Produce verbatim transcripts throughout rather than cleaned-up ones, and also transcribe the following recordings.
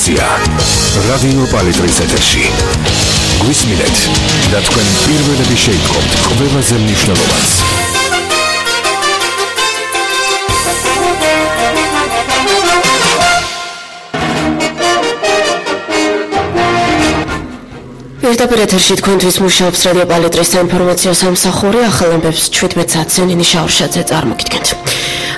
ინფორმაცია რადიო პალიტრის ეთერში. გვისმინეთ და თქვენ პირველები შეიტყობთ ყველაზე მნიშვნელოვანს. პირდაპირ ეთერში თქვენთვის მუშაობს რადიო პალიტრის საინფორმაციო სამსახური. ახალ ამბებს შვიდმეტ საათზე ნინი შაურშაძე წარმოგიდგენთ.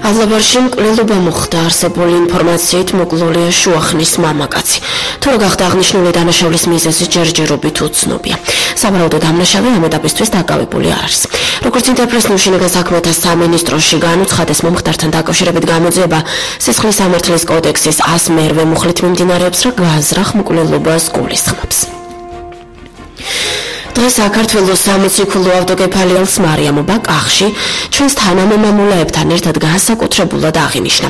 ავლაბარში მკვლელობა მოხდა. არსებული ინფორმაციით მოკლულია შუახნის მამაკაცი. თუ რა გახდა აღნიშნული დანაშაულის მიზეზი ჯერჯერობით უცნობია. სავარაუდო დამნაშავე ამ ეტაპისთვის დაკავებული არ არის. როგორც ინტერპრესს შინაგან საქმეთა სამინისტროში განუცხადეს, მომხდართან დაკავშირებით გამოძიება სისხლის სამართლის კოდექსის ას მერვე მუხლით მიმდინარეობს, რა გაზრახ მკვლელობას გულისხმობს. დღეს საქართველოს სამოციქულო ავტოკეფალიალს მარიამობა კახში ჩვენს თანამემამულეებთან ერთად განსაკუთრებულად აღინიშნა.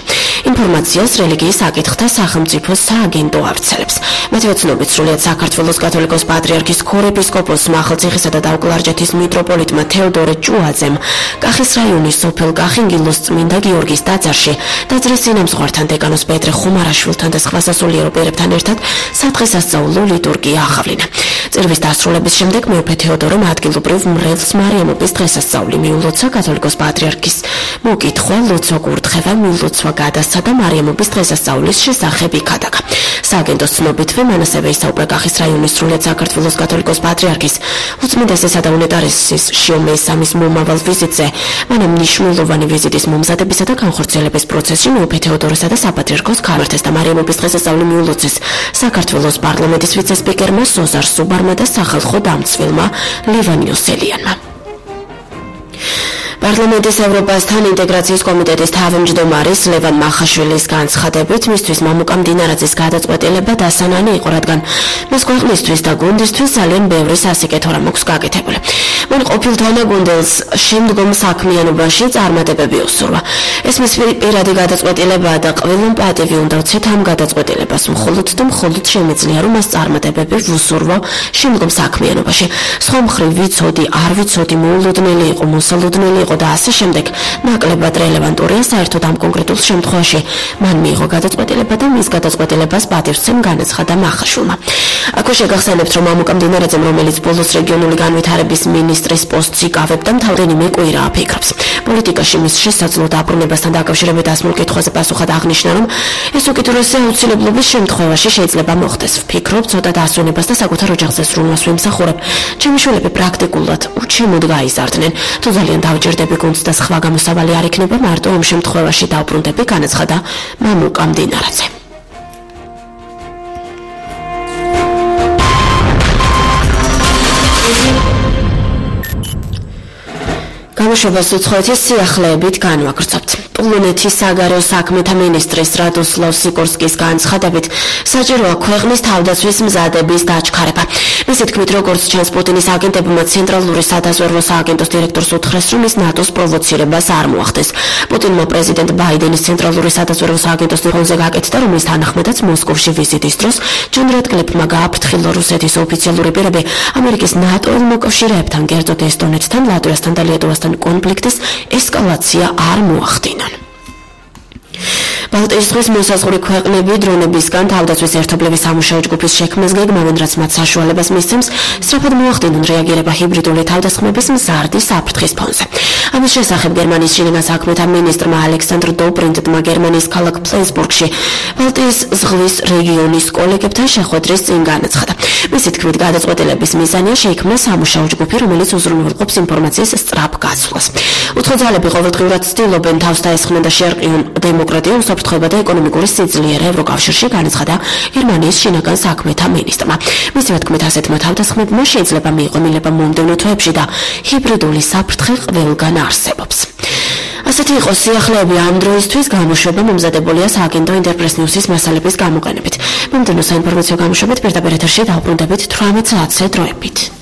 ინფორმაციას რელიგიის საკითხთა სახელმწიფო სააგენტო ავრცელებს. მათივე ცნობით, სრულიად საქართველოს კათოლიკოს პატრიარქის ქორეპისკოპოსმა ახალციხისა და დაუკლარჯეთის მიტროპოლიტმა თეოდორე ჭუაძემ კახის რაიონის სოფელ კახინგილოს წმინდა გიორგის ტაძარში ტაძრის წინამძღვართან დეკანოს პეტრე ხუმარაშვილთან და სხვა სასულიერო პირებთან ერთად სადღესასწაულო ლიტურგია აღავლინა. წირვის დასრულების შემდეგ მეუფე თეოდორემ ადგილობრივ მრევლს მარიამობის დღესასწაული მიულოცა. კათოლიკოს პატრიარქის მოკითხვა, ლოცვა კურთხევა, მილოცვა გადასცა და მარიამობის დღესასწაულის შესახებ იქადაგა. სააგენტოს ცნობითვე მან ასევე ისაუბრა კახის რაიონის სრულიად საქართველოს კათოლიკოს პატრიარქის უწმინდესისა და უნეტარესის შიომეის სამის მომავალ ვიზიტზე. მან მნიშვნელოვანი ვიზიტის მომზადებისა და განხორციელების პროცესში მეუფე თეოდორესა და საპატრიარქოს ქალერთეს და მარიამობის დღესასწაული მიულოცეს საქართველოს პარლამენტის ვიცე-სპიკერმა სოზარ სუბარმა და სახალხო დამცველმა ლევან იოსელიანმა. პარლამენტის ევროპასთან ინტეგრაციის კომიტეტის თავმჯდომარის ლევან მახაშვილის განცხადებით, მისთვის მამუკა მდინარაძის გადაწყვეტილება დასანანი იყო, რადგან მას ქვეყნისთვის და გუნდისთვის ძალიან ბევრი სასიკეთო რამ აქვს გაკეთებული. მან ყოფილ თანაგუნდელს შემდგომ საქმიანობაში წარმატებები უსურვა. ეს მის პირადი გადაწყვეტილებაა და ყველამ პატივი უნდა ვცეთ ამ გადაწყვეტილებას, მხოლოდ და მხოლოდ შემეძლია, რომ მას წარმატებები ვუსურვა შემდგომ საქმიანობაში. სხვა მხრივ ვიცოდი, არ ვიცოდი, მოულოდნელი იყო, მოსალოდნელი იყო და ასე შემდეგ ნაკლებად რელევანტურია. საერთოდ ამ კონკრეტულ შემთხვევაში მან მიიღო გადაწყვეტილება და მის გადაწყვეტილებას პატივცემ განაცხადა მახაშვილმა. აქვე შეგახსენებთ, რომ მამუკა მდინარაძემ, რომელიც ბოლოს რეგიონული განვითარების მინისტრის პოსტს იკავებდა, თავდენიმე კვირა აფიქრებს. პოლიტიკაში მის შესაძლო დაბრუნებასთან დაკავშირებით ასმულ კითხვაზე პასუხად აღნიშნა, რომ ეს უკიდურესი აუცილებლობის შემთხვევაში შეიძლება მოხდეს. ვფიქრობ, ცოტა დასვენებას და საკუთარ ოჯახზე სრულმას ვიმსახურებ. ჩემი შვილები პრაქტიკულად უჩემოდ გაიზარდნენ. თუ ძალიან დავჯერდები გუნდს და სხვა გამოსავალი არ იქნება, მარტო ამ შემთხვევაში დავბრუნდები, განაცხადა მამუკა მდინარაძე. გამოშვებას უცხოეთის სიახლეებით განვაგრძობთ. პოლონეთის საგარეო საქმეთა მინისტრის რადოსლავ სიკორსკის განცხადებით, საჭიროა ქვეყნის თავდაცვის მზადების დაჩქარება. მისი თქმით, როგორც ჩანს, პუტინის აგენტებმა ცენტრალური სადაზვერვო სააგენტოს დირექტორს უთხრეს, რომ ის ნატოს პროვოცირებას არ მოახდეს. პუტინმა პრეზიდენტ ბაიდენის ცენტრალური სადაზვერვო სააგენტოს დირექტორზე გაკეთდა, რომლის თანახმადაც მოსკოვში ვიზიტის დროს ჯონ რატკლიფმა გააფრთხილა რუსეთის ოფიციალური პირები ამერიკის ნატო-ელ მოკავშირეებთან, კერძოდ ესტონეთთან, ლატვიასთან და ლიეტუვასთან კონფლიქტის ესკალაცია არ მოახდინონ. ბალტიის ზღვის მოსაზღვრე ქვეყნები დრონებისგან თავდაცვის ერთობლების სამუშაო ჯგუფის შექმნას გეგმავენ, რაც მათ საშუალებას მისცემს სწრაფად მოახდინონ რეაგირება ჰიბრიდული თავდასხმების მზარდი საფრთხის ფონზე. ამის შესახებ გერმანიის შინაგან საქმეთა მინისტრმა ალექსანდრ დობრინდმა გერმანიის ქალაქ ფლენსბურგში ბალტიის ზღვის რეგიონის კოლეგებთან შეხვედრის წინ განაცხადა. მისი თქმით, გადაწყვეტილების მიზანია შეიქმნა სამუშაო ჯგუფი, რომელიც უზრუნველყოფს ინფორმაციის სწრაფ გაცვლას. უცხო ძალები ყოველდღიურად ცდილობენ თავს დაესხნენ და შეერყიონ დემოკრატია, უსაფრთხოება და ეკონომიკური სიძლიერე ევროკავშირში, განაცხადა გერმანიის შინაგან საქმეთა მინისტრმა. მისივე თქმით, ასეთმა თავდასხმებმა შეიძლება მიიღო მილება მომდევნო თვეებში და ჰიბრიდული საფრთხე ყველგან არსებობს. ასეთი იყო სიახლეები ამ დროისთვის. გამოშვება მომზადებულია სააგენტო ინტერპრეს ნიუსის მასალების გამოყენებით. მომდევნო საინფორმაციო გამოშვებით პირდაპირ ეთერში დავბრუნდებით თვრამეტ საათზე დროებით.